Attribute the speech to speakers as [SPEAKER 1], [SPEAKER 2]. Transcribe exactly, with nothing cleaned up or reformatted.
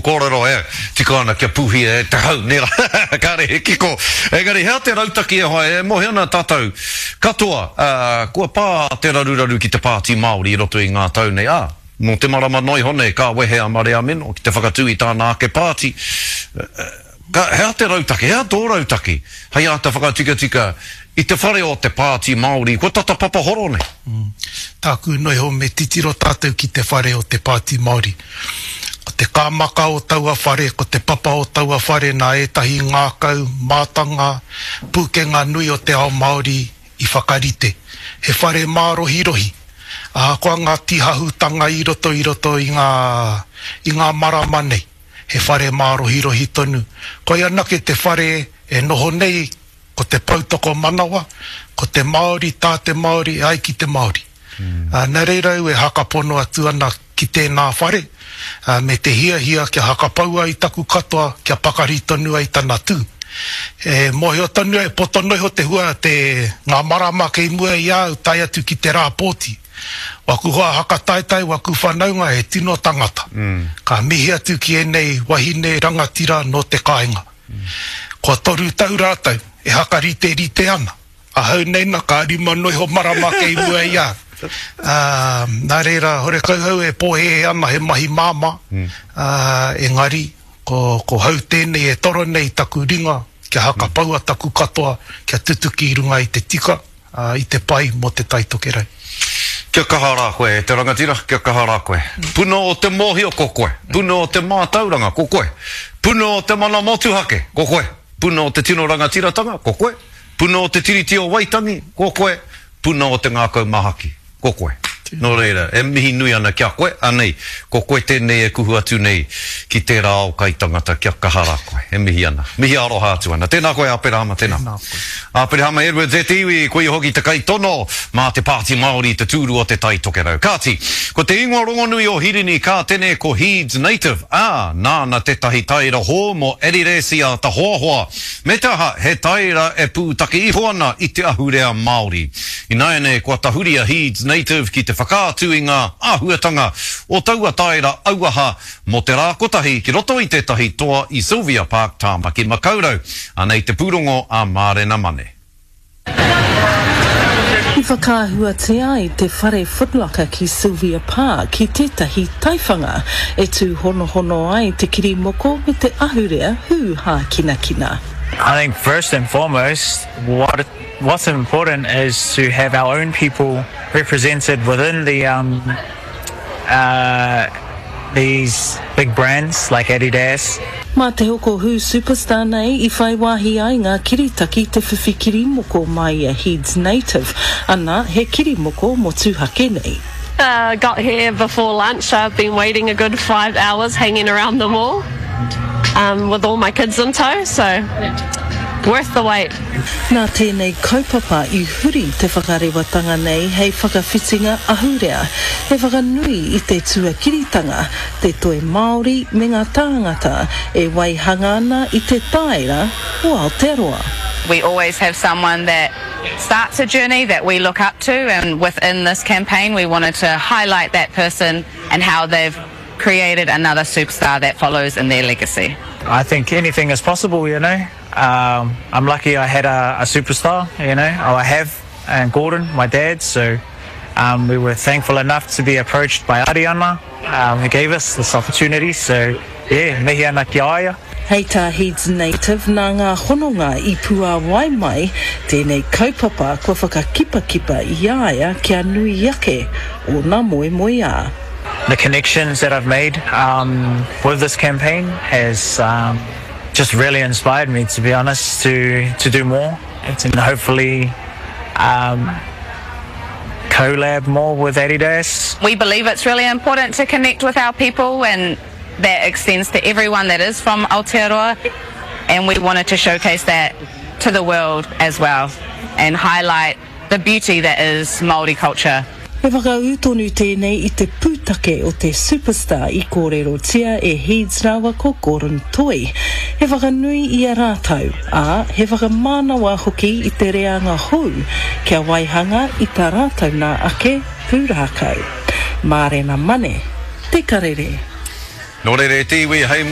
[SPEAKER 1] Kōrero e tika ana kia pūhia e te hau, nē rā, kāre he kiko. Engari, hea te rautaki e hoa, e mōhio ana tātou katoa, kua pā te raruraru ki te Pāti Māori i roto i ngā tau nei, ā, nō te marama noa iho nei ka wehe a Marea Meno ki te whakatū i tāna ake pāti. Ka, he aha te rautaki, he aha tō rautaki hei āta whakatikatika i te whare o te Pāti Māori kua tata papahoro nei?
[SPEAKER 2] Tāku noa iho me titiro tātou ki te whare o te Pāti Māori. Ko te kāmaka o taua whare, ko te papa o taua whare nā ētahi ngākau, mātanga, pūkenga nui o te ao Māori i whakarite. He whare mārohirohi, ahakoa ngā tīhahutanga i roto i roto i ngā, i ngā marama nei, he whare mārohirohi tonu. Koia anake te whare e noho nei ko te poutokomanawa, ko te Māori, tā te Māori, e ai ki te Māori. Nā reira au e hakapono atu ana ki tēnā whare, me te hiahia kia hakapaua i taku katoa kia pakari tonu ai tana tū. E mōhio tonu ai, poto noa iho te hua te ngā marama kei mua i a au tae atu ki te rā pōti. Waku hoa hakataetae, waku whanaunga he tino tangata. Ka mihi atu ki ēnei wahine rangatira nō te kāinga. Kua toru tau rātou e hakariterite ana. Ahau nei na ka rima noa iho marama kei mua i a au. Ā, nā reira, horekau au e pōhēhē ana he mahi māmā, ā, engari, ko, ko hau tēnei e toro nei i taku ringa kia hakapaua taku katoa kia tutuki i runga i te tika, ā, i te pai mō Te Tai Tokerau.
[SPEAKER 1] Kia kaha rā koe e te rangatira, kia kaha rā koe. Puna o te mōhio ko koe, puna o te mātauranga ko koe, puna o te mana motuhake ko koe, puna o te tino rangatiratanga ko koe, puna o te Tiriti o Waitangi ko koe, puna o te ngākau mahaki ko koe. Nō reira, e mihi nui ana ki a koe, anei, ko koe tēnei e kuhu atu nei ki tērā ao kaitangata kia kaha rā koe. E mihi ana. Mihi aroha atu ana. Tēnā koe Aperahama, tēnā.
[SPEAKER 2] Tēnā koe.
[SPEAKER 1] Aperahama Edwards e te iwi, koia hoki te kaitono mā te Pāti Māori i te tūru o Te Tai Tokerau. Kāti, ko te ingoa rongonui o Hirini Kātene ko Heeds Native, ā, nāna tētahi taera hou mō Adidas i āta hoahoa. Me te aha, he taera e pūtake iho ana i te ahurea Māori. Ināianei kua tahuri a Heeds Native ki te whakaatu i ngā āhuatanga o taua taera auaha mō te rā kotahi ki roto i tētahi toa i Sylvia Park, Tāmaki Makaurau. Anei te pūrongo a Mārena Mane.
[SPEAKER 3] I whakaahuatia ai te whare Footlocker ki Sylvia Park ki tētahi taiwhanga e tūhonohono ai te kirimoko me te ahurea hū hākinakina.
[SPEAKER 4] I think first and foremost what what's important is to have our own people represented within the um uh these big brands like Adidas.
[SPEAKER 3] Mā te hoko hū Superstar nei i whai wāhi ai ngā kiritaki te whiwhi kirimoko mai i a Heads Native, ana, he kirimoko motuhake nei.
[SPEAKER 5] Uh, got here before lunch, so I've been waiting a good five hours hanging around the mall um, with all my kids in tow, so worth the wait.
[SPEAKER 3] Nā tēnei kaupapa i huri te whakarewatanga nei hei whakawhitinga ahurea, he whakanui i te tuakiritanga, te toi Māori me ngā tāngata e waihanga ana i te tāera o Aotearoa.
[SPEAKER 6] We always have someone that starts a journey that we look up to and within this campaign we wanted to highlight that person and how they've created another superstar that follows in their legacy.
[SPEAKER 4] I think anything is possible, you know. Um, I'm lucky I had a, a superstar, you know, oh, I have, and Gordon, my dad, so um, we were thankful enough to be approached by Ariana, um, who gave us this opportunity, so yeah, mihi ana ki a ia.
[SPEAKER 3] Hei tā Heads Native, nā ngā hononga i puāwai mai tēnei kaupapa kua whakakipakipa i a ia kia nui ake ōna moemoeā.
[SPEAKER 4] The connections that I've made um, with this campaign has um, just really inspired me, to be honest, to, to do more and hopefully um, collab more with Adidas.
[SPEAKER 6] We believe it's really important to connect with our people and that extends to everyone that is from Aotearoa and we wanted to showcase that to the world as well and highlight the beauty that is Māori culture.
[SPEAKER 3] He whakaū tonu tēnei i te pūtake o te Superstar i kōrerotia e Heeds rāua ko Gordon Toi. He whakanui i a rātou, ā, he whakamānawa hoki i te reanga hou kia waihanga i tā rātou nā ake pūrākau. Mārena Mane, Te Karere.
[SPEAKER 1] Nō reira e te iwi, hei